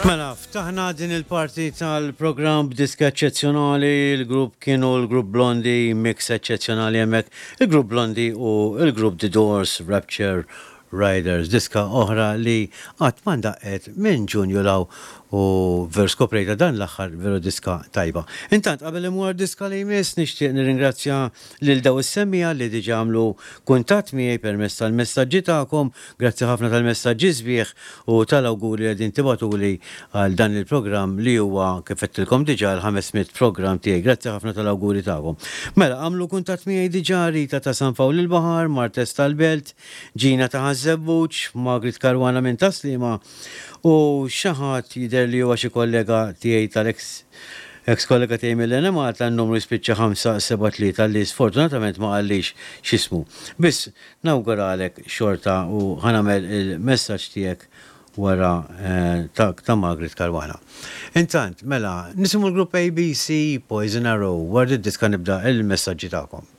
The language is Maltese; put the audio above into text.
Mela, ftaħna din il-parti tal-programm b'diska eċċezzjonali, il-grupp kienu l-grupp Blondie, mix eċċezzjonali hemmhekk, il-grupp Blondie u l-grupp The Doors, Rapture Riders, diska oħra li qatt ma ndaqqet minn Ġunju 'l hawn u veru skoprejtha dan l-aħħar, veru diska tajba. Intant qabel immur għad-diska li jmiss nixtieq nirringrazzja lil daw is-semmiegħa li diġà għamlu kuntatt miegħi permezz tal-messaġġi tagħkom. Grazzi ħafna tal-messaġġi sbieħ u tal-awguri li qegħdin tibagħtuli għal dan il-programm li huwa, kif għedtilkom diġà, il-500 programm tiegħi. Grazzi ħafna tal-awguri tagħkom. Mela, għamlu kuntatt miegħi diġà Rita ta' San Pawl il-Baħar, Martes tal-Belt, Gina ta' Ħaż-Żebbuġ, Margaret Caruana minn Tas-Sliema u xi ħadd jidher li huwa xi kollega tiegħi tal-eks eks kollega tiegħi mill-Enemalta n-numru jispiċċa 573 li sfortunatament ma qallix x'ismu. Biss nawguralek xorta u ħa nagħmel il-messaġġ tiegħek wara ta' ta' Margaret Caruana. Intant, mela, nisimgħu l-grupp ABC, Poison Arrow, wara di d-diska nibda il-messaġġi tagħkom.